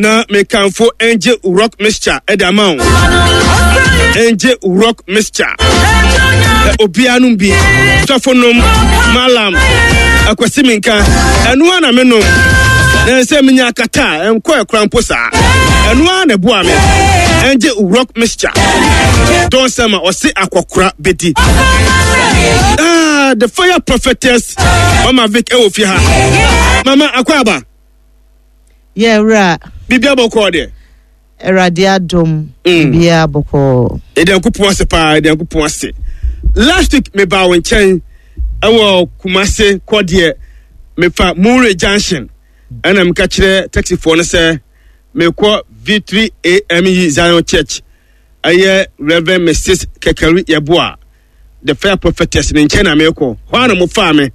Na mekamfo Angel Rock Mixture ɛde ama wo. Angel Rock Mixture. Obiara nom bi. Sɔfo nom, malam, akwasi minka. Ɛno ara na menom. Na sɛ menya akata a, ɛnkɔ ɛkora mpo saa. Ɛno ara na ɛboa me. Angel Rock Mixture. Don Sama ɔse akɔkora bɛdi. Ah, the fire prophetess Mama Vic ɛwɔ fie ha. Mama akɔ aba. Yɛ wura. Biribi abɔkɔɔ deɛ. Awurade adom. Biribiara bɔkɔɔ. Yɛde Nyankopɔn ase paa, yɛde Nyankopɔn ase. Last week mebaa wo nkyɛn ɛwɔ Kumase kɔ deɛ mefa Mure Junction ɛna meka kyerɛ taxifoɔ no sɛ mekɔ Victory AME Zion Church ɛyɛ Reverend Mrs. Kekeri Yeboah the fair prophetess ne nkyɛn na mekɔ hɔ a na mofaa me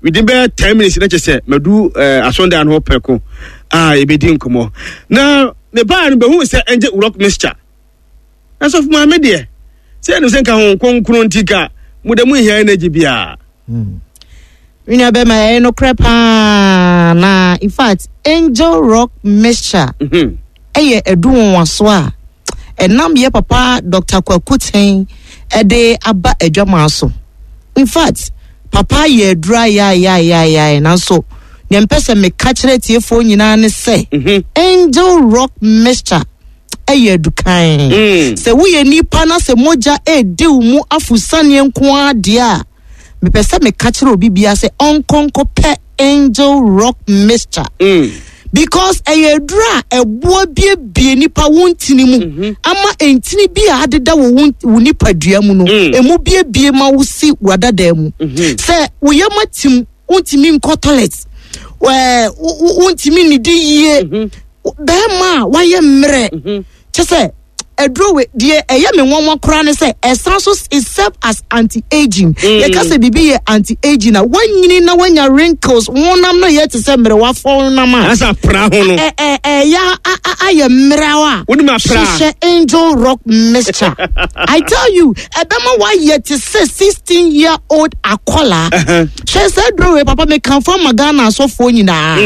within bɛyɛ 10 minutes na kyɛ sɛ madu asɔndan no hɔ prɛko a yɛbɛdi nkɔmmɔ. Na mebaa no bɛhu sɛ ɛngye rock mixture na sɔfo maame deɛ sɛ ɛno sɛ nka ho kronkron nti ka mo da mu nhia energy biara. Me nua bɛma, ɛyɛ nokorɛ paa. Na in fact, Angel Rock Mixture ɛyɛ adu nwanwaso a ɛnam yɛ papa Dr. Kwaku Ten ɛde aba adwamaa so. In fact, papa yɛ aduru ayaayaayaayae, nanso nea mpɛ sɛ meka kyerɛ tiefoɔ nyinaa ne sɛ Angel Rock Mixture ɛyɛ adukan. Sɛ woyɛ nipa na sɛ mogya ɛredi wo mu afusaneɛ nko ara deɛ a, mepɛ sɛ meka kyerɛ obi bia sɛ ɔnkɔnkɔpɛ Angel Rock Mixture because ɛyɛ aduru a ɛboa biebie nipa wo ntini mu ama ntini bi a adeda wɔ wo nipadua mu no emu biebie ma wo si w'adadaa mu. Sɛ wo yam atim, wontumi nkɔ toilet, wontumi nnidi yie, bɛrima a wayɛ mmerɛ kyɛ sɛ aduro we deɛ, ɛyɛ me nwanwa koraa ne sɛ ɛsan so it serve as anti-aging. Yɛka sɛ biribi yɛ anti-aging a, wanyini na wanya wrinkles, honam no yɛ te sɛ mmerewa fɔnam a asa pra ho no ɛ ɛ ɛyɛ ayɛ mmerɛw a Wonim apra. Hyehyɛ Angel Rock Mixture, I tell you, ɛbɛma wayɛ te sɛ 16 year old akɔlaa. Hwɛ sɛ aduro wei, papa, mekamfo ama Ghana asɔfoɔ nyinaa.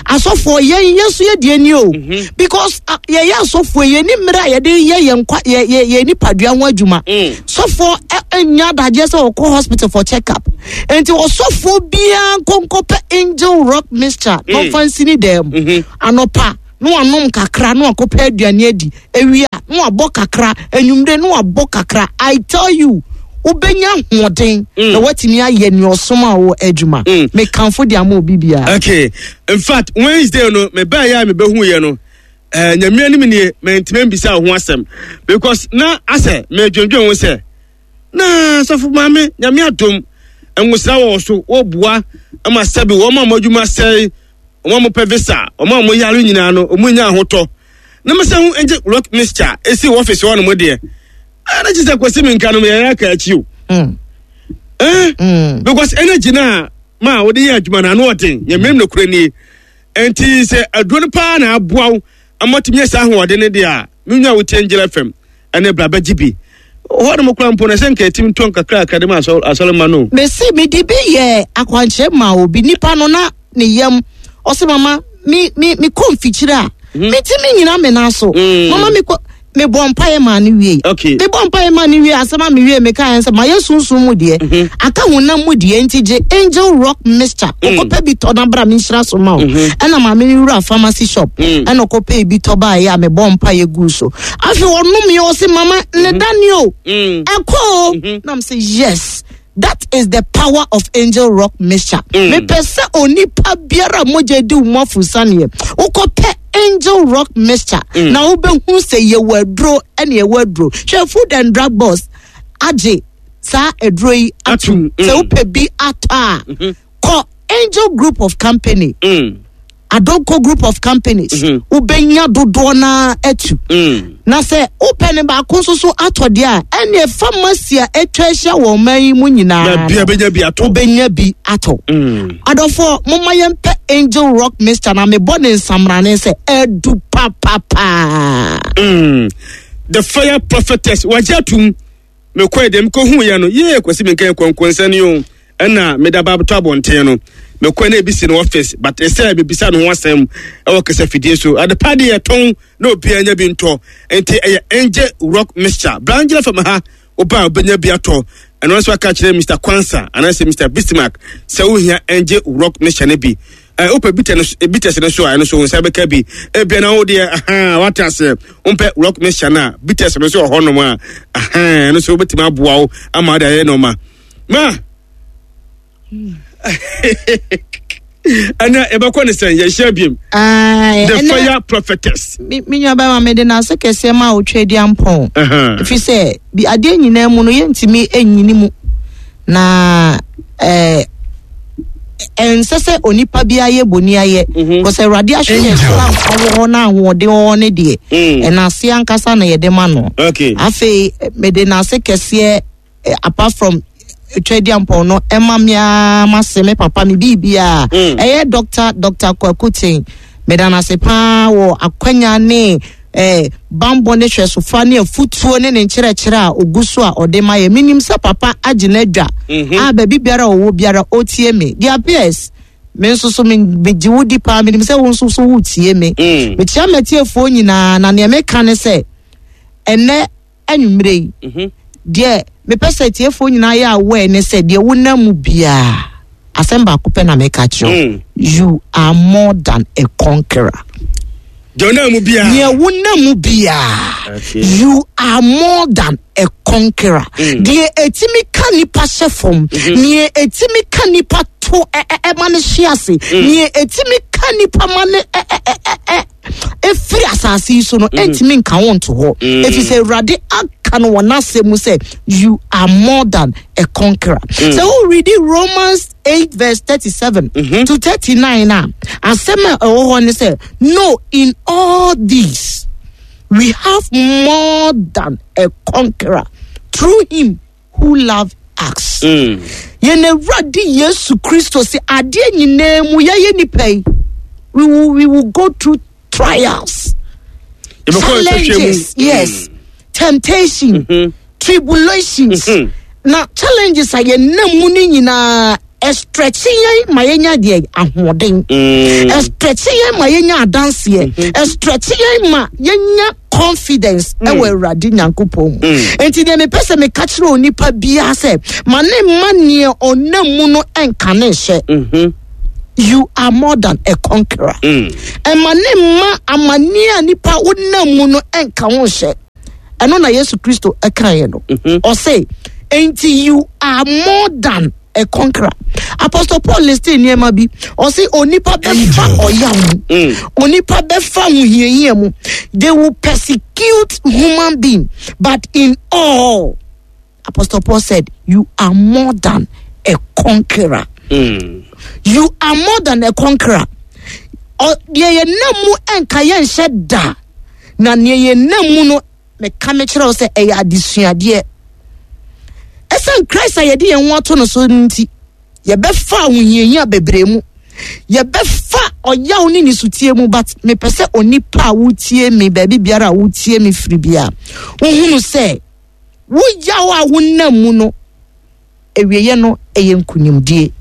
Asɔfoɔ, yɛn so yɛ deɛ ni o, because yɛyɛ asɔfoɔ, yɛn ni mmerɛ a yɛde yɛ yɛn kwa yɛ yɛ yɛn nipadua ho adwuma. Sɔfoɔ ɛ nya adagyeɛ sɛ ɔkɔ hospital for check up, nti ɔsɔfoɔ biara nkɔnkɔpɛ Angel Rock Mixture na ɔfa nsi ne dan mu. Anɔpa na wanom kakra na wakɔpɛ aduane adi, awia na wabɔ kakra, anwummerɛ na wabɔ kakra. I tell you, wobɛnya ahoɔden na watumi ayɛ nea ɔsom a wɔ adwuma. Mekamfo de ama obi biara. Okay, in fact, Wednesday no mebaa yɛ a mebɛhu yɛ no, Nyame anim nie, mantumi mbisa wo ho asɛm because na asɛ medwendwen ho sɛ na sɔfo maame, Nyame adom, nwosra wɔ wo so, wɔboa ma sɛbi wɔn a mo adwuma sɛe, wɔn a mopɛ visa, wɔn a moyare nyinaa no wɔn nya ahotɔ. Na mesɛ ho Angel Rock Mixture esi wɔ office hɔ nom deɛ, ɛna kyerɛ sɛ Kwasi mi nka no yɛyɛ aka akyi o. Because energy na ma wode yɛ adwuma no ano ɔden, yɛ mmemme nokorɛ nie. Nti sɛ aduro no paa na aboa wo ama tumi yɛ saa ahoɔden no deɛ a, menya wo tie Angel FM ɛne bra bɛgye bi hɔ nom kora mpo no, sɛ nka ɛtumi tɔn kakrakra de ma asɔre ma no. Mesi mede bi yɛ akwankyerɛ ma obi nipa no na ne yam ɔsɛ, "Mama, me me me kɔ mfikyire a, metumi nyina me nan so. Mama, me kɔ." Mebɔ mpaeɛ maa no wie. Mebɔ mpaeɛ maa no wie, asɛm a mewie meka yɛn sɛ mayɛ sunsun mu deɛ, aka honam mu deɛ, nti gye Angel Rock Mixture, ɔkɔpɛ bi tɔ na bra menhyira so ma wo. Ɛna maame no wura pharmacy shop ɛna ɔkɔpɛ bi tɔ baeɛ a mebɔ mpaeɛ gu so. Afei ɔnom yɛ, ɔse, "Mama, ne da ne o, ɛkɔ o." Na m sɛ, "Yes, that is the power of Angel Rock Mixture." Mepɛ sɛ onipa biara a mogya di wo mu afusaneɛ, wokɔpɛ Angel Rock Mixture na wobɛhu sɛ yɛwɔ aduro. Ɛne yɛwɔ aduro. Hwɛ, Food and Drug Board agye saa aduro yi atum. Sɛ wopɛ bi atɔ a, kɔ Angel Group of Company, Adonko Group of Companies, wobɛnya dodoɔ naa atu. Na sɛ wopɛ ne baako nso so atɔ deɛ a, ɛneɛ pharmacy a atwa ahyia wɔ ɔman yi mu nyinaa bia bɛnya bi atɔ. Wobɛnya bi atɔ. Adɔfoɔ, momma yɛmpɛ Angel Rock Mixture na mebɔ ne nsamrane sɛ adu papapaa. The fire prophetess wagye atum. Mekɔɛ deɛ mekɔhu yɛ no yee, Kwasi menka yɛ kɔnkɔnsɛne o. Ɛna mede aba abɛtɔ abɔnten no. Mekɔ na ebi si no office, but ɛsɛ mebisa no ho asɛm ɛwɔ kasafidie so. Adepa de yɛtɔn na obiara nya bi ntɔ. Nti ɛyɛ Angel Rock Mixture. Bra Angel FM ha, woba a wobɛnya bi atɔ. Ɛno nso aka kyerɛ Mr. Kwansa anaasɛ Mr. Bismarck sɛ wohia Angel Rock Mixture no bi. Wopɛ bitters no so a, ɛno nso wo nsa bɛka bi. Ebia na wo deɛ, aha, wate aseɛ, wompɛ rock mixture no a, bitters no nso wɔ hɔnom a, aha, ɛno nso wobɛtumi aboa wo ama wode ayɛ nɔɔma. Ma, ɛnɛ yɛbɛkɔ ne sɛn yɛhyia biem. The Fire Prophetess. Me nua bɛma mede n'ase kɛseɛ ma otwa di ampɔn. Ɛfiri sɛ adeɛ nyinaa mu no yɛntumi nyini mu na ɛnsɛ sɛ onipa bi ayɛ boni ayɛ kɔsɛ Awurade ahwɛ yɛn so a nkwa wɔ hɔ na ahoɔden wɔ hɔ ne deɛ ɛnase ankasa na yɛde ma no. Afei mede n'ase kɛseɛ apart from Twadiampɔn no ɛma me ara m'ase me papa me biribiara ɛyɛ Dr. Dr. Kwaku Ten meda no ase paa wɔ akwanya ne eh, bambɔ ne hwɛsofa ne afutuo ne ne nkyerɛkyerɛ a ogu so a ɔde ma yɛ. Menim sɛ papa agye n'adwa a baabi biara a ɔwɔ biara ɔtie me. Dear peers, me nso so megye wo di paa, menim sɛ wo nso so wotie me. Mekyia m'atiefoɔ nyinaa na nea meka ne sɛ ɛnɛ anwummerɛ yi, deɛ mepɛ sɛ atiefoɔ nyinaa yɛ aware ne sɛ deɛ wonam mu biara, asɛm baako pɛ na meka kyerɛ wo. You are more than a conqueror. Deɛ wonam mu biara. Deɛ wonam mu biara. You are more than a conqueror. Deɛ etimi ka nipa hyɛ fam. Deɛ etimi ka nipa to ɛma ne hye ase. Deɛ etimi ka nipa ma ne ɛ efiri asase yi so no ɛntumi nka wo nto hɔ. Ɛfiri sɛ Awurade aka no wɔ n'asɛm mu sɛ you are more than a conqueror. Sɛ wo read Romans 8 verse 37 to 39 a, asɛm a ɛwɔ hɔ ne sɛ no, in all these we have more than a conqueror through him who loved us. Yɛn Awurade Yesu Kristo sɛ adeɛ nyinaa mu yɛyɛ nipa yi, we will go through trials, challenges, yes, temptation, tribulations. Na challenges a yɛnam mu no nyinaa ɛstretch yɛn ma yɛnya deɛ ahoɔden, ɛstretch yɛn ma yɛnya adanseɛ, ɛstretch yɛn ma yɛnya confidence ɛwɔ Awurade Nyankopɔn mu. Nti deɛ mepɛ sɛ meka kyerɛ onipa biara sɛ ma ne mma neɛ ɔnam mu no ɛnka ne nhyɛ. You are more than a conqueror. Ɛma ne mma amanneɛ a nipa wonam mu no ɛnka ho nhyɛ. Ɛno na Yesu Kristo ɛkaeɛ no. Ɔse, enti you are more than a conqueror. Apostle Paul listed nneɛma bi. Ɔse onipa bɛfa ɔyaw mu. Onipa bɛfa ahohiahia mu. They will persecute human being, but in all, Apostle Paul said, you are more than a conqueror. You are more than a conqueror. Deɛ yɛnam mu ɛnka yɛnhyɛ da, na deɛ yɛnam mu no meka mekyerɛ wo sɛ ɛyɛ adesuadeɛ. Ɛsiane Christ a yɛde yɛn ho ato no so nti, yɛbɛfa ahohiahia bebree mu, yɛbɛfa ɔyaw ne nisutie mu, but mepɛ sɛ onipa a wotie me baabi biara a wotie me firi bia, wohunu sɛ wo yaw a wonam mu no awieɛ no ɛyɛ nkonimdie.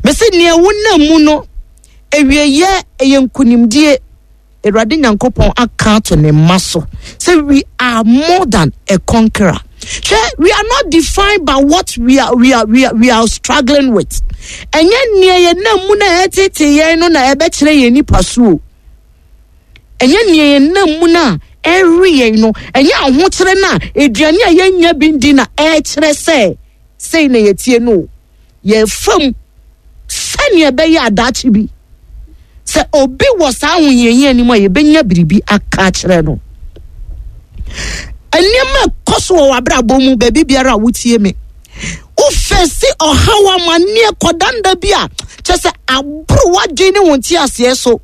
Mese nea wonam mu no awieɛ ɛyɛ nkonimdie. Awurade Nyankopɔn aka ato ne mma so sɛ we are more than a conqueror. Hwɛ, we are not defined by what we are we are we are, we are struggling with. Ɛnyɛ nea yɛnam mu na ɛtete yɛn no na ɛbɛkyerɛ yɛn nipa so o. Ɛnyɛ nea yɛnam mu na ɛwe yɛn no, ɛnyɛ ahokyerɛ no a aduane a yɛnya bi ndi na ɛkyerɛ sɛ sei na yɛtie no o. Yɛfam sɛnea ɛbɛyɛ adaakye bi sɛ obi wɔ saa ahohiahia no mu a yɛbɛnya biribi aka akyerɛ no. Nneɛma ɛkɔ so wɔ w'abrabɔ mu baabi biara a wotie me, wofɛsi ɔhaw amanneɛ kɔdanda bi a kyɛ sɛ aboro w'adwene ne wo nteaseɛ so.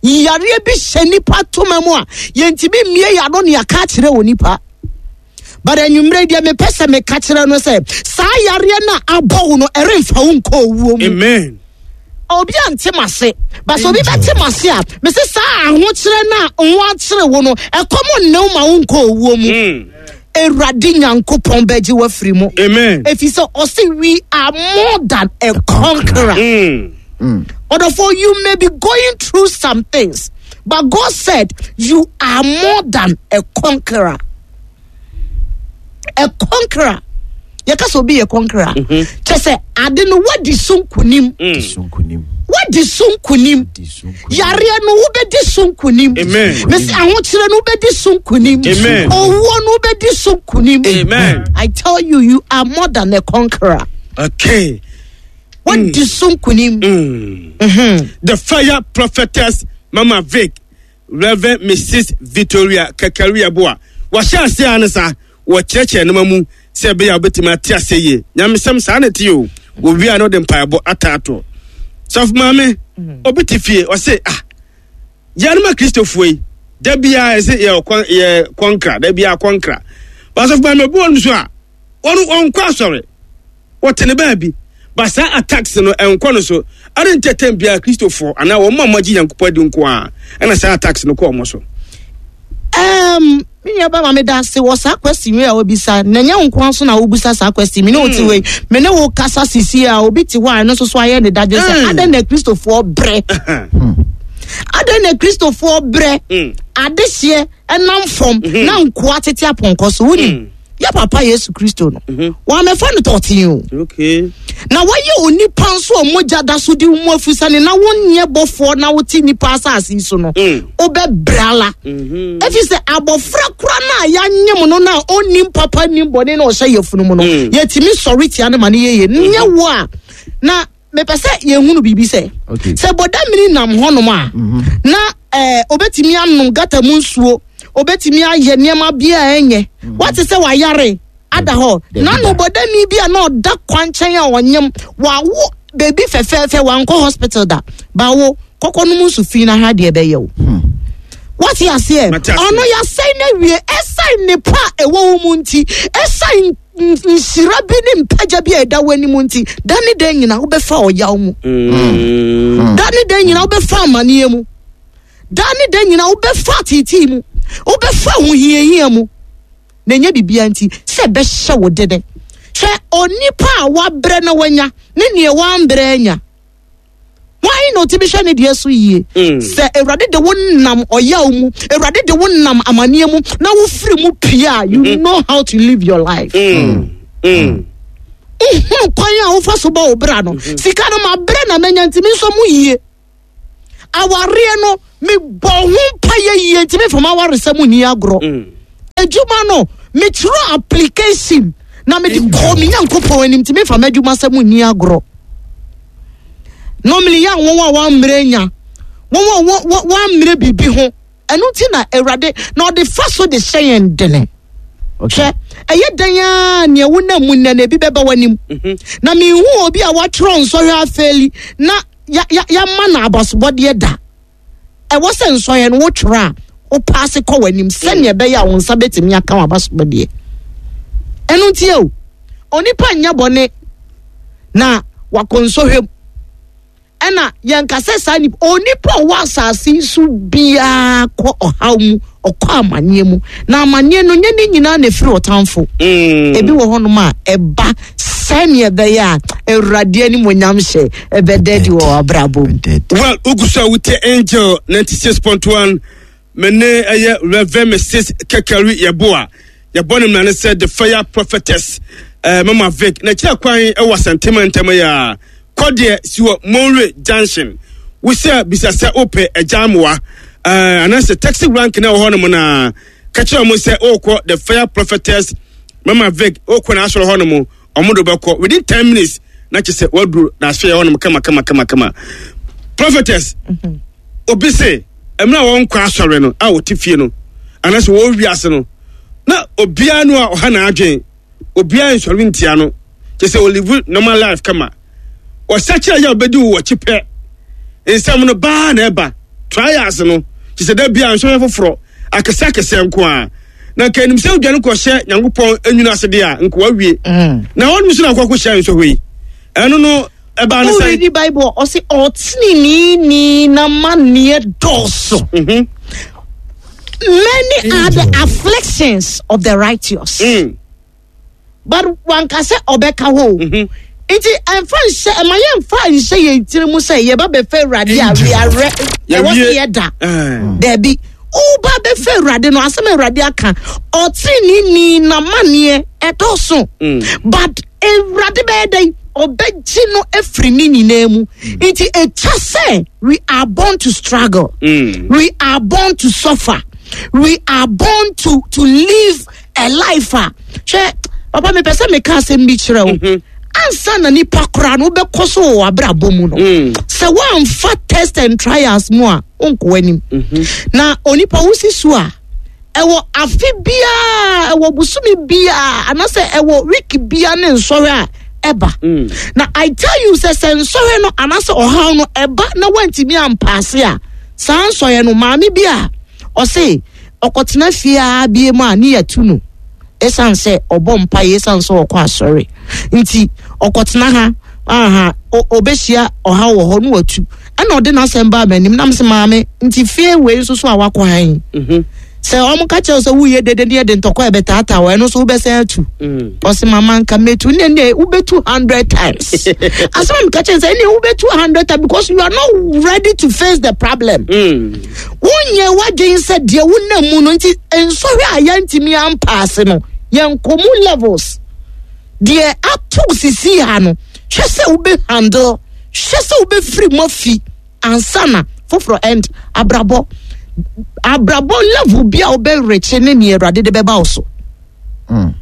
Yareɛ bi hyɛ nipa toma mu a yɛntumi mmie yɛn ano ne yɛaka akyerɛ wɔ nipa. But anwummerɛ deɛ mepɛ sɛ meka kyerɛ no sɛ saa yareɛ no a abɔ wo no ɛremfa wo nkɔ owuo mu. Amen. Obi ante m'ase, but sɛ obi bɛte m'ase a, mese saa ahokyerɛ no a ho akyere wo no, ɛkɔm nne wo ma wo nkɔ owuo mu. Awurade Nyankopɔn bɛgye wafiri mu. Amen. Ɛfiri sɛ ɔse we are more than a conqueror. Ɔdɔfoɔ, you may be going through some things, but God said you are more than a conqueror. A conqueror. Yɛka sɛ obi yɛ conqueror. Kyɛ sɛ ade no wadi so nkonim. Wadi so nkonim. Yareɛ no wobɛdi so nkonim. Amen. Mesi ahokyerɛ no wobɛdi so nkonim. Amen. Owuo no wobɛdi so nkonim. Amen. I tell you, you are more than a conqueror. Okay. Wadi so nkonim. The fire prophetess Mama Vic, Reverend Mrs. Victoria Kekere-Yeboah. Wɔhyɛ ase a ne sa wɔkyerɛkyerɛ nneɛma mu sɛ ɛbɛyɛ a wobɛtumi ate ase yie. Nyamesɛm saa na ɛte o. Wɔwie a na ɔde mpaebɔ ataato. Sɔfo maame, obi te fie ɔse ah yɛn ma Kristofoɔ yi da biara ɛsɛ yɛ kɔn yɛ kɔnkra da biara kɔnkra. Sɔfo maame obi wɔ nom so a wɔn wɔnkɔ asɔre wɔte ne baabi ba saa attacks no ɛnkɔ no so ɛne ntɛtɛm biara Kristofoɔ anaa wɔn a wɔagye Nyankopɔn adi nko a ɛna saa attacks no kɔ wɔn so. Me nua bɛma meda ase wɔ saa question wei a wobisa na ɛnyɛ wo nko so na wobisa saa question me ne wo te wei me ne wo kasa sisi a obi te hɔ a ɛno nso so ayɛ ne dadwen sɛ adɛn na Kristofoɔ brɛ adɛn na Kristofoɔ brɛ adehyeɛ ɛnam fam na nkoa tete apɔnkɔ so wonim yɛ papa Yesu Kristo no wɔamɛfa no tɔɔten o. Okay. Na wɔyɛ onipa nso a mogya da so di wo mu afusane na wonyɛ bɔfoɔ na wote nipa asase yi so no, wobɛbrɛ ala. Ɛfiri sɛ abɔfra kora no a yɛanyem no no a ɔnnim papa nnim bɔne na ɔhyɛ yafunu mu no, yɛtumi sɔre tia no ma no yɛyɛ. Nyɛ wo a na mepɛ sɛ yɛhunu biribi sɛ sɛ bɔdamini nam hɔnom a na obɛtumi anom gata mu nsuo, obɛtumi ayɛ nneɛma bi a ɛnyɛ. Wate sɛ wayare ada hɔ na no bɔdami bi a na ɔda kwankyɛn a ɔnyem wawo beebi fɛfɛɛfɛ wankɔ hospital da bawo kɔkɔ no mu nsu fi na ha deɛ ɛbɛyɛ o. Wate aseɛ ɔno yasɛn na wie ɛsan nipa a ɛwɔ wo mu nti ɛsan nhyira bi ne mpagya bi a ɛda w'anim nti da ne da nyina wobɛfa ɔyaw mu, da ne da nyina wobɛfa amanneɛ mu, da ne da nyina wobɛfa ateetee mu, wobɛfa ahohiahia mu. Na ɛnyɛ biribiara nti sɛ ɛbɛhyɛ wo dene. Hwɛ onipa a wabrɛ na wanya ne neɛ wambrɛ anya. Hwan na ɔtumi hwɛ ne deɛ so yie? Sɛ Awurade de wo nam ɔyaw mu, Awurade de wo nam amanneɛ mu na wofiri mu pie a, you know how to live your life. Wohunu kwan a wofa so bɔ wo bra no. Sika no mabrɛ na manya nti me nso mu yie. Awareɛ no mebɔ ho mpayɛ yie nti mefa m'awaresɛm nni agorɔ. Adwuma no metwerɛ application na mede kɔɔ me Nyankopɔn anim nti mefa m'adwuma sɛm nni agorɔ. Normally yɛ a wɔn a wɔammerɛ nya wɔn a wɔammerɛ biribi ho ɛno nti na Awurade na ɔde fa so de hyɛ yɛn dene. Hwɛ ɛyɛ dɛn a nea wonam mu nnɛ na ebi bɛba w'anim. Na menhu obi a watwerɛ nsɔhwɛ afeeli na yɛama no abasobɔdeɛ da. Ɛwɔ sɛ nsɔhwɛ no wotwerɛ a wopaase kɔ w'anim sɛnea ɛbɛyɛ a wo nsa bɛtumi aka w'abasobɔdeɛ. Ɛno nti o, onipa nyɛ bɔne na wakɔ nsɔhwɛ mu. Ɛna yɛnka sɛ saa nipa onipa ɔwɔ asase yi so biara kɔ ɔhaw mu, ɔkɔ amanneɛ mu. Na amanneɛ no nyɛ ne nyinaa na ɛfiri ɔtamfo. Ebi wɔ hɔnom a ɛba sɛnea ɛbɛyɛ a Awurade animuonyam hyɛ ɛbɛda adi wɔ w'abrabɔ mu. Well, wogu so a wotie Angel 96.1 me ne ɛyɛ Reverend Mrs. Kekere Yeboah. Yɛbɔ no mmara ne sɛ The Fire Prophetess Mama Vic. Na kyerɛ kwan ɛwɔ Asantema ntam yɛ a kɔdeɛ si wɔ Monroe Junction. Wosɛ bisa sɛ wopɛ agya mmoa anaasɛ taxi rank na ɛwɔ hɔ nom na ka kyerɛ wɔn sɛ wokɔ The Fire Prophetess Mama Vic wokɔ n'asɔre hɔ nom ɔmo de bɛkɔ within 10 minutes na kyerɛ sɛ waduru n'asɔre hɔ nom kama kama kama kama. Prophetess obi se mmerɛ a wɔnkɔ asɔre no a wɔte fie no anaasɛ wɔwɔ wiase no na obiara no a ɔha n'adwen obiara nsɔre ntia no kyerɛ sɛ ɔlive normal life kama ɔsakyerɛ yɛ a ɔbɛdi wo wɔkyi pɛ nsɛm no baa na ɛba trials no kyerɛ sɛ da biara nsɔhwɛ foforɔ akɛsɛ akɛsɛ nko a na nka anim sɛ wodwane kɔhyɛ Nyankopɔn nwunu ase deɛ a nka wawie na wɔnom so na akɔ akɔhyia nsɔhwɛ yi ɛno no ɛbaa ne sɛ Woredi Bible ɔse ɔteneneeni na manneɛ dɔɔso. Many are the afflictions of the righteous. But wanka sɛ ɔbɛka hɔ o. Nti ɛmfa nhyɛ ɛma yɛmfa nhyɛ yɛn tiri mu sɛ yɛba bɛfɛ Awurade a we are re ɛwɔ sɛ yɛda. Daabi. Woba bɛfɛ Awurade no asɛm Awurade aka ɔteneneeni n'amanneɛ ɛdɔɔso. But Awurade bɛyɛ dɛn? Ɔbɛgye no afiri ne nyinaa mu. Nti ɛtwa sɛ we are born to struggle. We are born to suffer. We are born to live a life a hwɛ papa mepɛ sɛ meka asɛm bi kyerɛ wo mhm. ansa na nipa koraa no wobɛkɔ so wɔ w'abrabɔ mu no mm. sɛ woamfa test and trials mu a wonkɔ anim mhm. na onipa wosi so a ɛwɔ afe biara ɛwɔ bosome biara anaasɛ ɛwɔ week biara ne nsɔhwɛ a ɛba mm. na i tell you sɛ sɛ nsɔhwɛ no anaasɛ ɔhaw no ɛba na woantumi ampaase a saa nsɔhwɛ no maame bi a ɔse Ɔkɔtena fie ara bie mu a ne yɛatu no ɛsiane sɛ ɔbɔ mpaeɛ ɛsiane sɛ ɔkɔ asɔre nti ɔkɔtena ha aha ɔbɛhyia ɔhaw wɔ hɔ no watu ɛna ɔde n'asɛm baa m'anim nam sɛ maame nti fie wei nso so a wakɔ ha yi mhm. sɛ ɔmo ka kyerɛ sɛ woyɛ dede ne yɛde ntɔkwa ɛbɛtaataa wɔ ɛno nso wobɛsɛn atu mm. ɔsɛ mama nka mɛtu ne ne wobɛtu hundred times asɛm a meka kyerɛ sɛ ɛne wobɛtu hundred times because you are not ready to face the problem mm. Wonyɛɛ w'adwene sɛ deɛ wonam mu no nti nsɔhwɛ a yɛntumi ampaase no yɛnkɔ mu levels deɛ ato sisi ha no hwɛ sɛ wobɛ handle hwɛ sɛ wobɛfiri mu afi ansa na foforɔ and abrabɔ abrabɔ level bi a wobɛrekye ne nea awurade de bɛba wo so mm.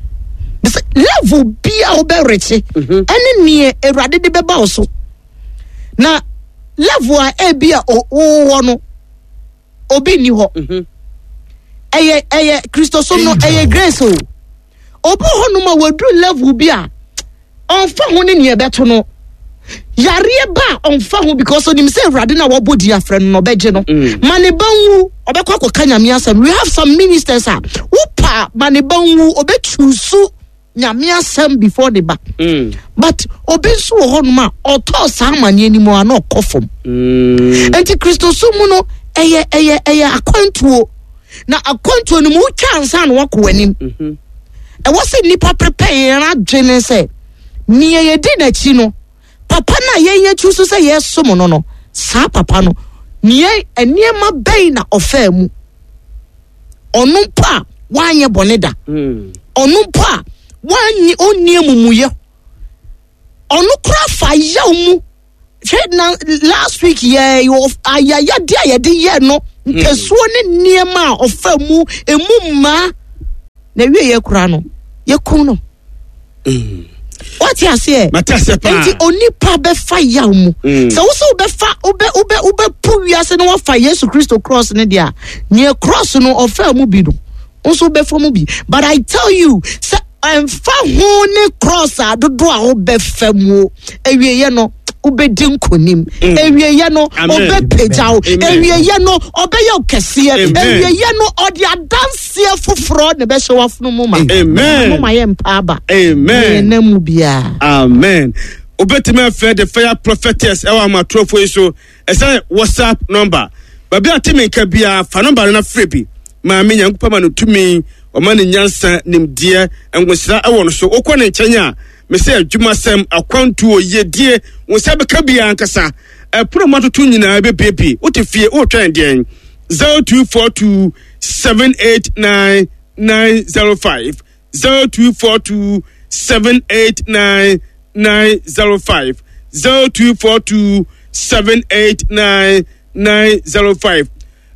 level bi a wobɛrekye mhm. ɛne nea awurade de bɛba wo so na level a ebi a wowɔ no obi nni hɔ mhm. ɛyɛ ɛyɛ kristosom no ɛyɛ grace o obi wɔ hɔnom a waduru level bi a ɔnfa ho ne nea ɛbɛto no yareɛ ba a ɔnfa ho because onim sɛ awurade no a wɔbɔ di afrɛ no na ɔbɛgye no mm. ma ne ba nwu ɔbɛkɔ akɔka nyame asɛm we have some ministers a wopa ma ne ba nwu ɔbɛtusu Nyame asɛm before ne ba. Mm. But obi nso wɔ hɔnom a ɔtɔɔ saa amanneɛ no mu a na ɔkɔ fam. Mm. Nti Kristosom mu no ɛyɛ ɛyɛ ɛyɛ akwantuo. Na akwantuo no mu wotwa ansa na wakɔ w'anim. Mm-hmm. Ɛwɔ sɛ nnipa prepare yɛn adwene sɛ nea yɛdi n'akyi no papa no a yɛn akyi so sɛ yɛsom no no saa papa no nea nneɛma bɛn na ɔfaa mu. Ɔno mpo a wanyɛ bɔne da. Hmm. Ɔno mpo a wanyɛ ɔnni amumuyɛ. Ɔno kora fa yaw mu. Hwɛ na last week yɛ ayayade a yɛde yɛ no hmm. ntasuo ne nneɛma a ɔfa mu emu mmaa na ewie yɛ kora no yɛkum no. Wate aseɛ? Mate aseɛ paa. Nti onipa bɛfa yaw mu. Mm. Sɛ wosɛ wobɛfa wobɛ wobɛ wobɛpo wiase na wafa Yesu Kristo cross ne deɛ a, neɛ cross no ɔfaa mu bi no, nso wobɛfa mu bi. But I tell you, sɛ ɛmfa ho ne cross a dodoɔ a wobɛfa mu o, awieɛ no wobɛdi nkonim mm. awieɛ no ɔbɛpagya wo awieɛ no ɔbɛyɛ wo kɛseɛ awieɛ no ɔde adanseɛ foforɔ na ɛbɛhyɛ w'afono mu ma amen ma yɛ mpa aba amen yɛn mu biara amen wobɛtumi afrɛ the fire prophetess ɛwɔ amatorofo yi so ɛsɛ whatsapp number baabi a temi nka biara fa number no na frɛ bi maame nyankopɔn ma no tumi ɔma no nyansa nimdeɛ ngosra ɛwɔ no so wokɔ ne nkyɛn a Mese adwumasɛm, akwantuo, yiedie, wo nsa bɛka biara ankasa. Ɛpono mu atoto nyinaa bɛbiebie. Wote fie, wotwɛn deɛn? 0242 789 905 0242 789 905 0242 789 905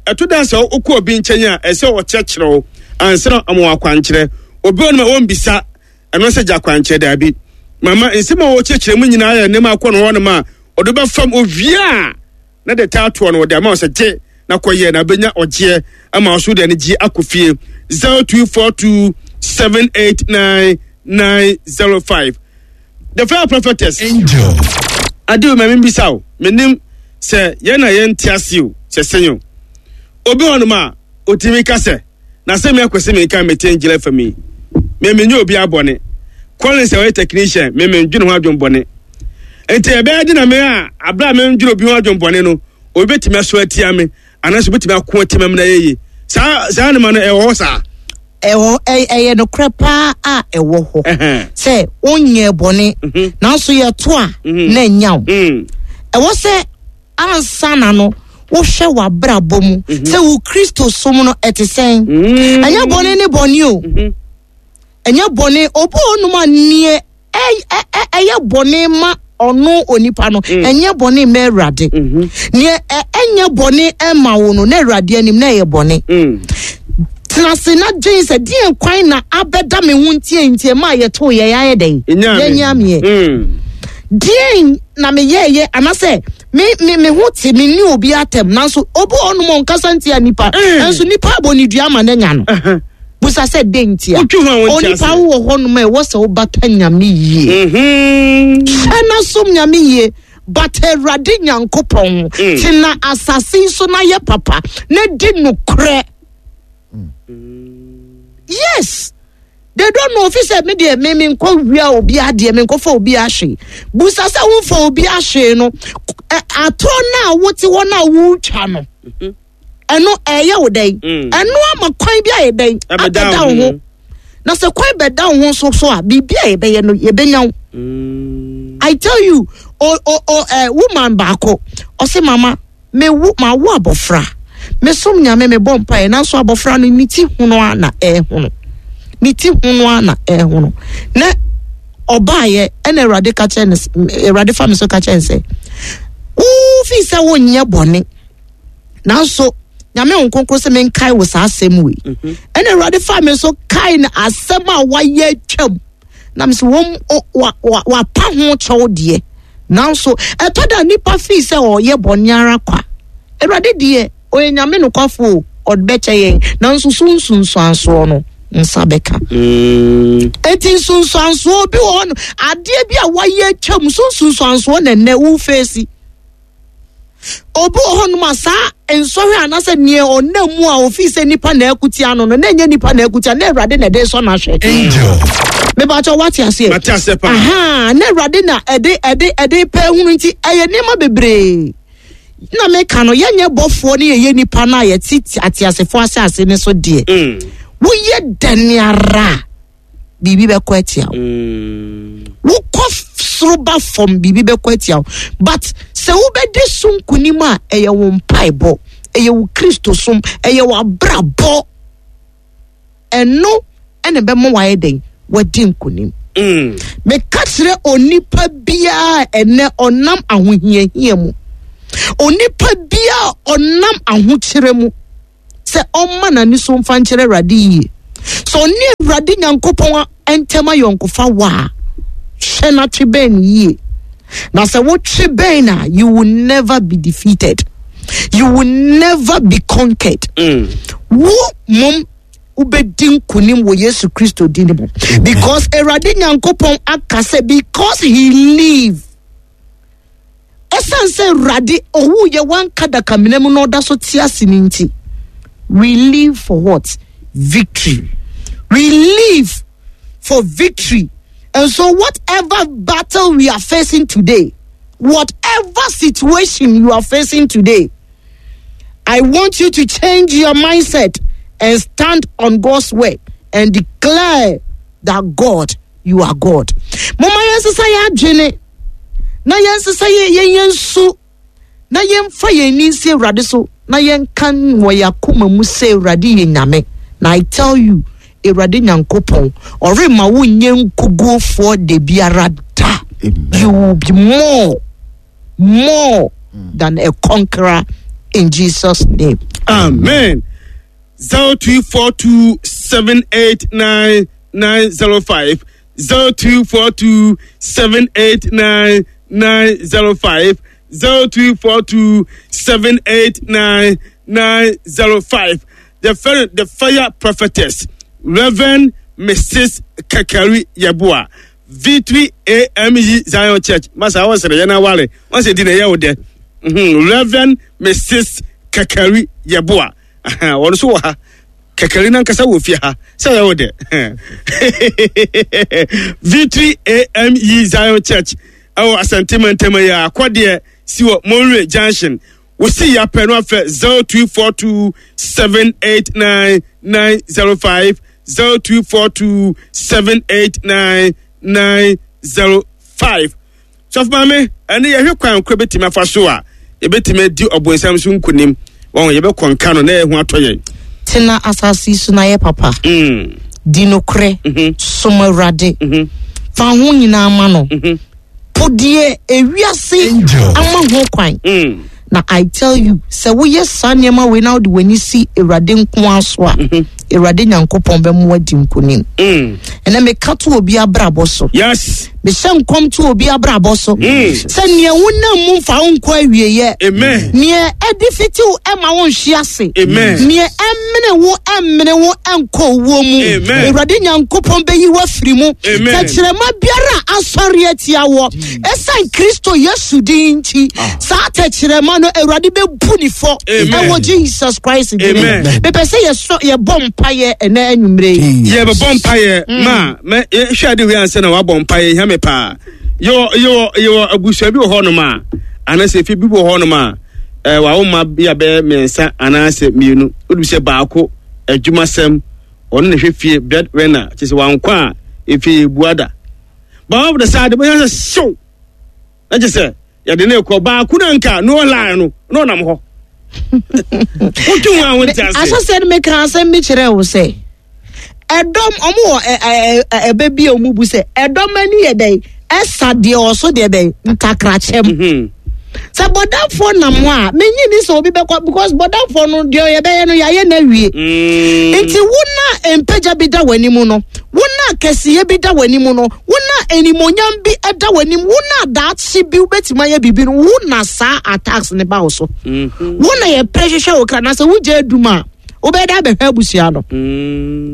Ɛto da sɛ wokɔ obi nkyɛn a ɛsɛ ɔkyerɛkyerɛ wo ansa na ɔma wo akwankyerɛ. Obi wɔ no ma wɔmbisa Ɛno sɛ gya kwankyerɛ daabi. Mama nsɛm a wɔkyerɛkyerɛ mu nyinaa yɛ nneɛma akɔ no hɔnom a ɔde bɛfam owie a na de taa toɔ no wɔde ama wo sɛ gye na kɔyɛ na bɛnya ɔgyeɛ ama wo so de anigye akɔ fie 0242 789 905 The Fire Prophetess Angel. Ade o ma membisa o menim sɛ yɛn na yɛnte ase o sɛ sɛn o obi hɔnom a ɔtumi ka sɛ Na sɛ me akwasi me nka mete ngyina fam yi, me menyɛ obi abɔne. Collins a ɔyɛ technician, me mendwene ho adwen bɔne. Nti ɛbɛyɛ de na me a abere a mendwene obi ho adwen bɔne no, obi betumi aso atia me, anaasɛ obetumi ako atia me na yɛyɛ. Saa saa nneɛma no ɛwɔ hɔ saa. Ɛwɔ ɛyɛ nokorɛ paa a ɛwɔ hɔ sɛ wonyɛ bɔne mhm. nanso yɛto a mhm. na ɛnya wo. Mm. Ɛwɔ sɛ ansa na no wohwɛ w'abrabɔ mu mhm. sɛ wo Kristo som no ɛte sɛn. Mm. Ɛnyɛ bɔne ne bɔne o. Ɛnyɛ bɔne obi wɔ hɔnom a neɛ ɛyɛ bɔne ma ɔno onipa no mm. ɛnyɛ bɔne ma awurade mm-hmm. neɛ ɛnyɛ bɔne ɛma wo no na awurade anim na ɛyɛ bɔne mm. tena ase na dwen sɛ deɛ kwan na abɛda me ho ntie ntie ma yɛtoo yɛ yɛayɛ dɛn yɛnyɛ ameɛ mm. deɛn na meyɛɛyɛ anasɛ me me me ho te me ne obi atɛm nanso obi wɔ hɔnom ɔnkasa ntia nipa nso nipa abɔ ne dua ama n'anya no uh-huh. Busa sɛ, Dɛn ntia? Onipa wowɔ hɔnom a ɛwɔ sɛ wobata Nyame yie. Mm-hmm. Hyɛ na som Nyame yie. Bata Awurade Nyankopɔn ho. Mm. Tena asase yi so na yɛ papa na di nokorɛ. Mm. Yes. They don't know fi sɛ me deɛ me me nkɔ wia obi adeɛ me nkɔ fa obi ahwe. Busa sɛ womfa obi ahwe no atorɔ no a wote hɔ no a wotwa no. Mm-hmm. ɛno ɛyɛ wo dɛn mm. ɛno ama kwan bi ayɛ dɛn abɛda wo ho na sɛ kwan bɛda wo ho nso so a biribi a yɛbɛyɛ no yɛbɛnya wo mm. i tell you o o o ɛ eh, woman baako ɔsɛ mama mewo mawo abɔfra mesom nyame mebɔ mpaeɛ nanso abɔfra no ne ti hono a na ɛhono ne ti hono a na ɛhono na ɔbaayɛ ɛna awurade ka kyerɛ ne awurade fa me so ka kyerɛ ne sɛ wofi sɛ wonyɛ bɔne nanso nyame wo nkonkron sɛ menkae wo saa asɛm wei mhm. ɛna awurade fa me so kae no asɛm a wayɛ atwam na mesɛ wɔm wapa ho kyɛw deɛ nanso ɛtɔ da nnipa fii sɛ ɔyɛ bɔne ara kwa awurade deɛ ɔyɛ nyame nokwafo o ɔbɛkyɛ yɛn nanso so nsunsuansoɔ no nsa bɛka mm. eti nsunsuansoɔ bi wɔ hɔ no adeɛ bi a wayɛ atwam so nsunsuansoɔ na ɛnɛ wofeesi Obi wɔ hɔnom a saa nsɔhwɛ anaasɛ nea ɔnam mu a ofii sɛ nipa na akutia no no na ɛnyɛ nipa na akutia na awurade na ɛde sɔ n'ahwɛ. Angel. Mebakyɛ wate aseɛ. Mate aseɛ paa. Aha na awurade na ɛde ɛde ɛde pɛ hunu nti ɛyɛ nneɛma bebree na meka no yɛnyɛ bɔfoɔ ne yɛyɛ nipa no a yɛte ateasefoɔ asase ne so deɛ. Mm. Woyɛ dɛn ara a biribi bɛkɔ atia wo mm. wokɔ soro ba fam biribi bɛkɔ atia wo but sɛ wobɛdi so nkonim a ɛyɛ wo mpaebɔ ɛyɛ wo kristo som ɛyɛ wo abrabɔ ɛno ɛna ɛbɛma wayɛ dɛn wadi nkonim mm. meka kyerɛ onipa biara ɛnɛ ɔnam ahohiahia mu onipa biara ɔnam ahokyerɛ mu sɛ ɔmma n'ani so mfa nkyerɛ Awurade yie. Sɛ ɔne Awurade Nyankopɔn ntam ayɔnkofa wɔ a, hwɛ na twe bɛn no yie. Na sɛ wotwe bɛn a, you will never be defeated. You will never be conquered. Mm. Wo mom wobɛdi nkonim wɔ Yesu Kristo din mu. Because Awurade Nyankopɔn aka sɛ because he live. Ɛsiane sɛ Awurade owuiɛ wanka dakamena mu na ɔda so te ase no nti, we live for what? Victory. We live for victory. And so whatever battle we are facing today, whatever situation you are facing today, I want you to change your mindset and stand on God's word and declare that God, you are God. Mama yɛnsesa yɛn adwene na yɛnsesa yɛn yɛn su na yɛmfa yɛn ani nsi Awurade so na yɛnka wɔ yɛn akoma mu sɛ Awurade yɛ Nyame. Na I tell you, Awurade Nyankopɔn, ɔremma wo nyɛ nkuguofoɔ da biara da. Amen. You will be more, more than a conqueror in Jesus' name. Amen. 0242 789 905 0242 789 905 0242 789 905 The fire, the fire prophetess Reverend Mrs. Kakari Yeboah Victory AME Zion Church masa awɔ sɛrɛ yɛn awale wɔn sɛ di na ɛyɛ wo dɛ Reverend Mrs. Kakari Yeboah wɔn nso wɔ ha Kakari nankasa wɔ fie ha sɛ ɛyɛ wo dɛ Victory AME Zion Church ɛwɔ Asante mantam yi a akɔdeɛ si wɔ Monroe Junction. Wosi yɛ apɛ no afɛ 0242 789 905, 0242 789 905. Sɔfo maame, ɛne yɛhwɛ kwan koro bɛtumi afa so a yɛbɛtumi adi ɔbonsam so nkonim. Wɔn yɛbɛkɔ nka no na ɛho atɔ yɛn. Tena asase yi so na yɛ papa. Di nokorɛ. Som Awurade. Fa ho nyinaa ma no. Po deɛ ewiase ama ho kwan. Na I tell you, sɛ woyɛ saa nneɛma wei na wode w'ani si Awurade nko ara so a, Awurade Nyankopɔn bɛma woadi nkonim. Ɛnɛ meka to obi abrabɔ so. Yes. Mehyɛ nkɔm to obi abrabɔ so. Sɛ nea wonam mu mfa wo nkɔ awieɛ. Amen. Nea ɛde fitiw ɛma wo nhwe ase. Amen. Nea ɛmene wo ɛmene wo ɛnkɔ owuo mu. Amen. Awurade Nyankopɔn bɛyi wo afiri mu. Amen. Tɛkyerɛma biara a asɔre atia wɔ. Ɛsiane Kristo Yesu din nti, saa tɛkyerɛma no Awurade bɛbu ne fɔ. Amen. Ɛwɔ Jesus Christ din mu. Amen. Mepɛ sɛ yɛsɔ yɛbɔ mpaeɛ ɛnɛ anwummerɛ yi. Yɛbɛbɔ mpaeɛ ma mɛ yɛhwɛ ade wei ansa na wabɔ mpaeɛ hia me paa. Yɛwɔ yɛwɔ yɛwɔ abusua bi wɔ hɔnom a anaasɛ efi bi wɔ hɔnom a ɛɛ wawo mma bi a bɛyɛ mmiɛnsa anaasɛ mmienu. Wodum sɛ baako adwumasɛm ɔno na ɛhwɛ fie bread winner kyerɛ sɛ wankɔ a efie ebua da. Baako de saa de bɛyɛ sɛ hyew na kyerɛ sɛ yɛde ne kɔ baako na nka no line no na ɔnam hɔ. Wotu ho a wonte ase. Asɔsɛ no meka asɛm bi kyerɛ wo sɛ ɛdɔm ɔmo wɔ ɛ ɛ ɛ ɛbɛ bi a ɔmo bu sɛ ɛdɔm ani yɛ dɛn ɛsa deɛ ɔso deɛ bɛn ntakrakyɛm. Sɛ bɔdamfoɔ nam hɔ a menyi ni sɛ obi bɛkɔ because bɔdamfoɔ no deɛ ɔyɛ bɛyɛ no yɛayɛ no awie. Nti wo na mpagya bi da w'anim no, wo na kɛseyɛ bi da w'anim no, wo na animonyam bi da w'anim, wo na daakye bi wobɛtumi ayɛ biribi no, wo na saa attacks ne ba wo so. Wo na yɛpɛ hwehwɛ wo kra na sɛ wogya adum a wobɛyɛ dɛ abɛhwɛ abusua no.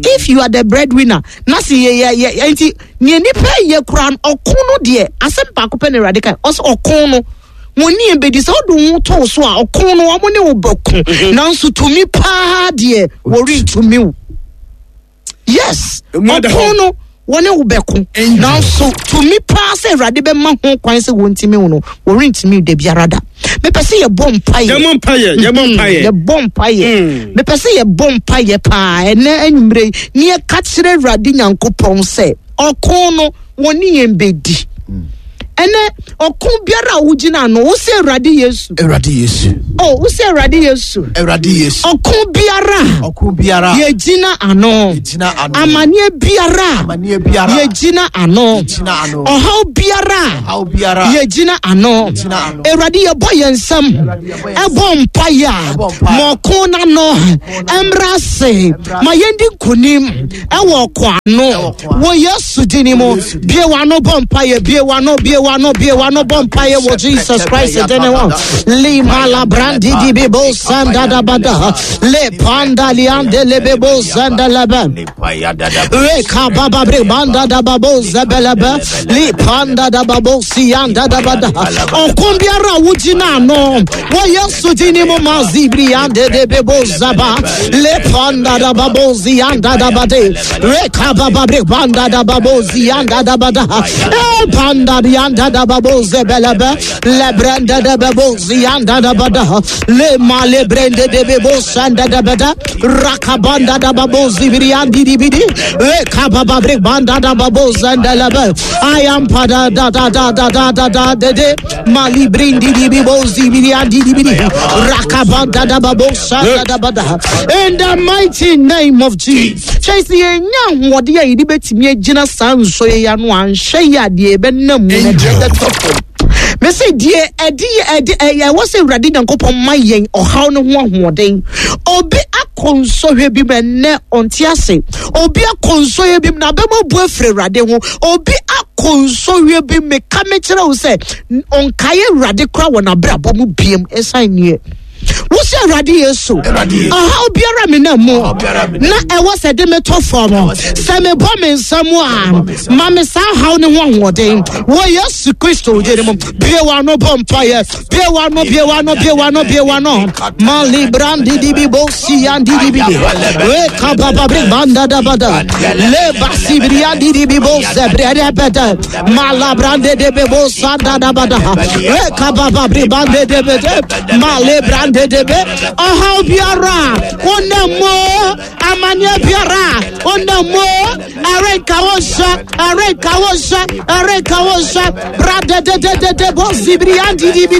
If you are the breadwinner, na se yɛ yɛ yɛ nti nea nipa yɛ kura no ɔko no deɛ asɛm baako pɛ na Awurade kan ɔsɛ ɔko no wɔn ni ebedi sɛ ɔde wɔn to so a ɔko no wɔn ne wo bɛko nanso tumi paa deɛ wɔrentumi wo. Yes, ɔko no wɔne wo bɛko nanso tumi paa sɛ Awurade bɛma ho kwan sɛ wɔntumi wo no wɔrentumi da biara da. Mepɛ sɛ yɛbɔ mpaeɛ. Yɛbɔ mpaeɛ, yɛbɔ mpaeɛ. Yɛbɔ mpaeɛ. Mepɛ sɛ yɛbɔ mpaeɛ paa ɛnɛ anwummerɛ yi ne yɛka kyerɛ Awurade Nyankopɔn sɛ ɔko no wɔne yɛn bɛdi. Ɛnɛ ɔko biara a wogyina ano wo sɛ Awurade Yesu. Awurade Yesu. Oh, wo sɛ Awurade Yesu. Awurade Yesu. Ɔko biara. Ɔko biara. Yɛgyina ano. Yɛgyina ano. Amaneɛ biara. Amaneɛ biara. Yɛgyina ano. Yɛgyina ano. Ɔhaw biara. Ɔhaw biara. Yɛgyina ano. Yɛgyina ano. Awurade yɛbɔ yɛn nsam. Ɛbɔ mpaeɛ a. Ma ɔko n'ano. Ɛmmra ase. Ma yɛndi nkonim. Ɛwɔ ɔko ano. Wɔ Yesu din mu. Bie w'ano bɔ mpaeɛ. Bie w'ano, bie w'ano, bie w'ano bɔ mpaeɛ wɔ Jesus Christ din mu. Lima la brandi di bibo sanda da bada. Le panda liande le bebo sanda lebe. Reka baba bre banda da babo zebelebe. Li panda da babo sianda da bada. Ɔko biara a wogyina ano. Wɔ Yesu din mu ma zibri ande de bebo zaba. Le panda da babo zianda da bade. Reka baba bre banda da babo zianda da bada. E panda dianda da babo zebelebe. Le brenda de bebo zianda da bada. Le male brende de bebo sanda da bada. Rakabanda da babo zibri andi di bidi. Reka baba bre banda da babo zanda lebe. I am pada da da da da da da da de de. Mali brindi di bibo zibri andi di bidi. Rakabanda da babo sanda da bada. In the mighty name of Jesus. Chase ye nya ahoɔden a yɛde bɛtumi agyina saa nsɔyɛ yi ano anhwɛ yi adeɛ ɛbɛnam mu na deɛ ɛbɛtɔ fam. Mese deɛ ɛde ɛde ɛyɛ ɛwɔ sɛ Awurade Nyankopɔn ma yɛn ɔhaw no ho ahoɔden. Obi akɔ nsɔhwɛ bi mu ɛnnɛ ɔnte ase. Obi akɔ nsɔhwɛ bi mu na abɛma bu afiri Awurade ho. Obi akɔ nsɔhwɛ bi mu meka mekyerɛ wo sɛ ɔnkae Awurade kora wɔ n'abrabɔ mu biem ɛsan nie. Wosɛ Awurade Yesu, ɔhaw biara me nam mu na ɛwɔ sɛ de metɔ fam, sɛ mebɔ me nsa mu a, ma me saa haw ne ho ahoɔden wɔ Yesu Kristo din mu. Bie w'ano bɔ mpaeɛ. Bie w'ano, bie w'ano, bie w'ano, bie w'ano. Mali brandi di bi bo si andi di bi. E kababa bri banda da bada. Le basi bri andi di bi bo se bri de bada. Mala brande de be bo sa da da bada. E kababa bri bande de be de. Male brande de be. Ɔhaw biara, wonam mu, amanneɛ biara, wonam mu, ɛrenka wo nhyɛ, ɛrenka wo nhyɛ, ɛrenka wo nhyɛ. Brande de de de de bo zibiri andi di bi.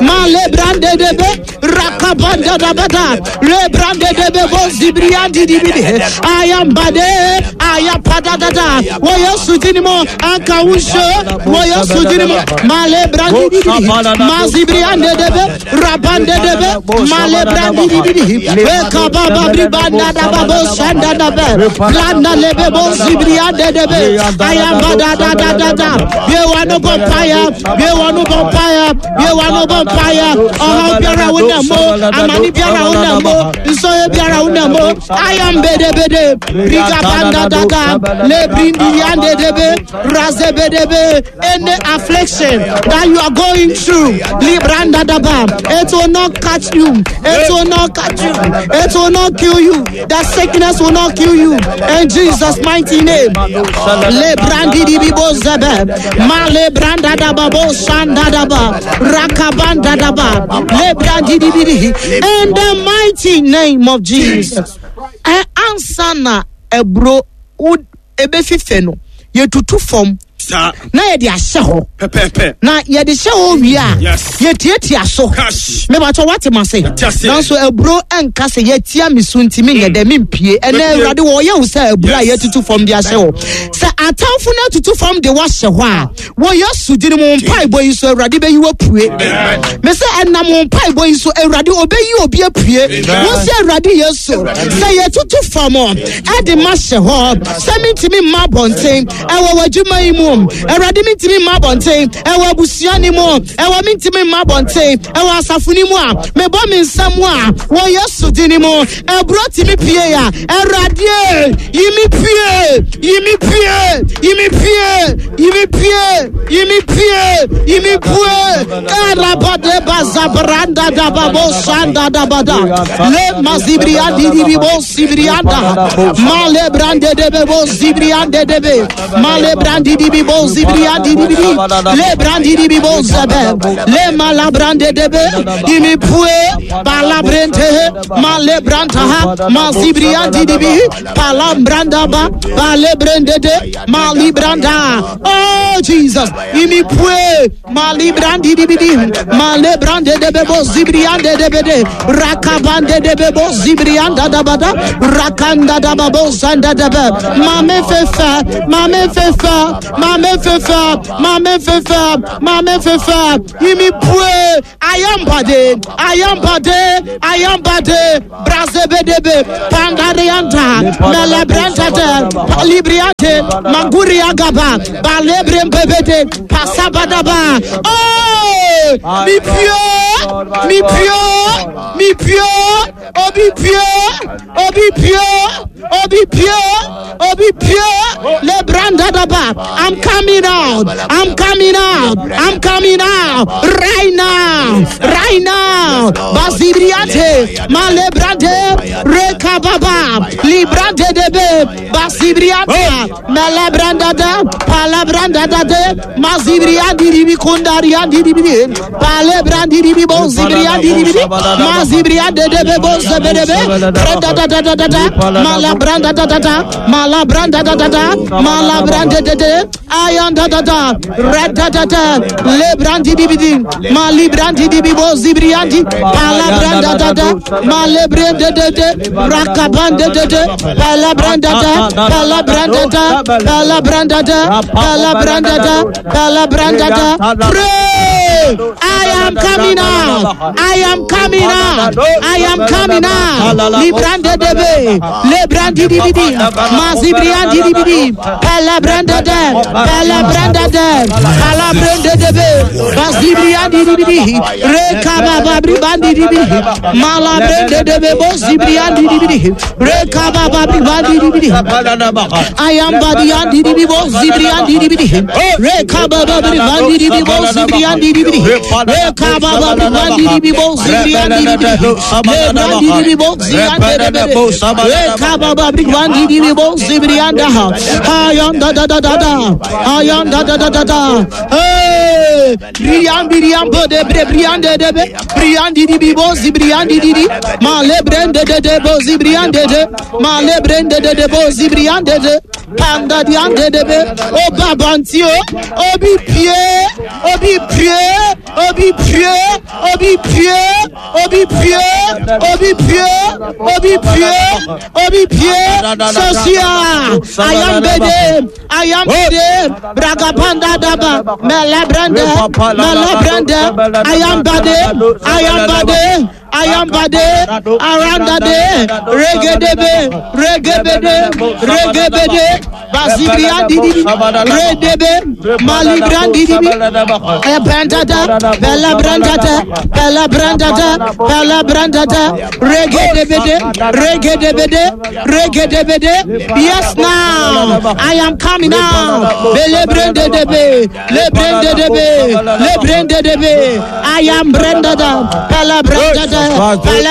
Male brande de be, rakabanda da bada. Le brande de be bo zibiri andi di bi. Ayambade, ayapada da da. Wɔ Yesu din mu, anka wo nhyɛ, wɔ Yesu din mu. Male brande di bi. Mazibiri ande de be, rabande de be, male brandi di bi. Ekababa bribanda da babo sanda da be. Blanda lebe bo zibiri ande de be. Ayamba da da da da da. Bie wano bɔ mpaeɛ, bie wano bɔ mpaeɛ, bie wano bɔ mpaeɛ. Ɔhaw biara wo nam mu, amane biara wo nam mu, nsɔhwɛ biara wo nam mu. Ayambedebede, rigabanda da da, le brindi ande de be, razebedebe. Any affliction that you are going through, libranda da ba, it will not catch you, it will not catch you, it will not kill you. The sickness will not kill you. In Jesus' mighty name. Le brandi di bibo zebe, ma le branda da ba bo sanda da ba, rakabanda da ba, le brandi di bi. In the mighty name of Jesus. Ɛ ansa na ɛburo wo ebefife no yɛtutu fam Saa na yɛde ahyɛ hɔ pɛpɛɛpɛ. na yɛde hyɛ hɔ wie a Yes. yɛtiatia so. Cash. Mebatɔ wate ma se ase. nanso aburo nka sɛ yɛtia me so nti menyɛ dɛ mempie. Ɛnɛ Mepie. Awurade wɔyɛ wo sɛ aburo a Yes. yɛtutu fam de ahyɛ hɔ. Sɛ atamfo no atutu fam de woahyɛ hɔ a, wɔ Yesu din mu mpaebɔ yi so Awurade bɛyi woapue. Me sɛ ɛnam wo mpaebɔ yi so Awurade ɔbɛyi obi apue. Wo sɛ Awurade Yesu, sɛ yɛtutu fam ɛde ma hyɛ hɔ sɛ mentumi mma abɔnten ɛwɔ w'adwuma yi mu, Awurade mentumi mma abɔnten ɛwɔ abusua ne mu, ɛwɔ mentumi mma abɔnten ɛwɔ asafo ne mu a mebɔ me nsa mu a, wɔ Yesu din mu ɛburo tumi pie a, Awurade yi me pie, yi me pie, yi me pie, yi me pie, yi me pie, yi me pue. Karabade bazabranda dababo sanda dabada le mazibria didibo sibrianda male brande debebo zibriande debe male brandi dibibo zibria didibi le brandi dibibo zebe le malabrande debe imi pue palabrente male branta ha mazibria didibi palambranda ba pale brande de mali branda. Oh Jesus, imi pue mali brandi dibidi male brande debe bo zibriande debe de rakabande debe bo zibrianda dabada rakanda dababo zanda debe mame fefa mame fefa mame fefa mame fefa mame fefa imi pue ayambade ayambade ayambade brazebedebe pandarianta melebrantade palibriate manguriagaba balebrempebede pasabadaba. Oh, mi pue, mi pue, mi pue, obi pue, obi pue, obi pue, obi pue, le branda daba. I'm coming out, I'm coming out, I'm coming out right now, right now. Basibriate, malebrande, rekababa, librande debe, basibriate, melebranda de, palabranda de, mazibriandi ribi kundariandi ribi, palebrandi ribi bozibriandi ribi, mazibriande debe bozebe debe, prenda da da da da da, malabranda da da da, malabranda da da da, malabrande de de, ayanda da da, reda da da, lebrandi dibidi, malibrandi dibi bozibriandi, palabranda da da, malebrande de de, rakabande de de, palabranda da, palabranda da, palabranda da, palabranda da, palabranda da. Pray. I am coming out. I am coming out. I am coming out. Librande debe, lebrandi dibidi, mazibriandi dibidi, pelabranda de, pelabranda de, pelabrande debe, bazibriandi dibidi, rekaba bribandi dibidi, malabrande debe, bozibriandi dibidi, rekaba bribandi dibidi. I am badiandi dibi bozibriandi dibidi, rekaba bribandi dibi bozibriandi dibidi, rekaba bribandi dibi bozibriandi dibidi, lebrandi dibi bozibriandi dibidi, rekaba bribandi dibi bozibrianda ha, ayam da da da da da, ayam da da da da da, hey, brian brian bode bre brian de de brian di di bozibriandi di di, ma lebrende de de bozibriande de, ma lebrende de de bozibriande de, panda diande de be, o babantio, obi pie, obi pie, obi pie, obi pie, obi pie, obi pie, obi pie, obi pie, sosia, I am bede, I am bede, bragapanda daba, melebrande, melebrande, I am bade, I am bade, I am bade, aranda de, regedebe, regebede, regebede, basibriandi dibi, redebe, malibrandi dibi, ebrandada, bella brandada, bella brandada, bella brandada, regedebede, regedebede, regedebede. Yes, now I am coming out. Belebrandedebe, lebrandedebe, lebrandedebe. I am brandada, bella brandada, bella.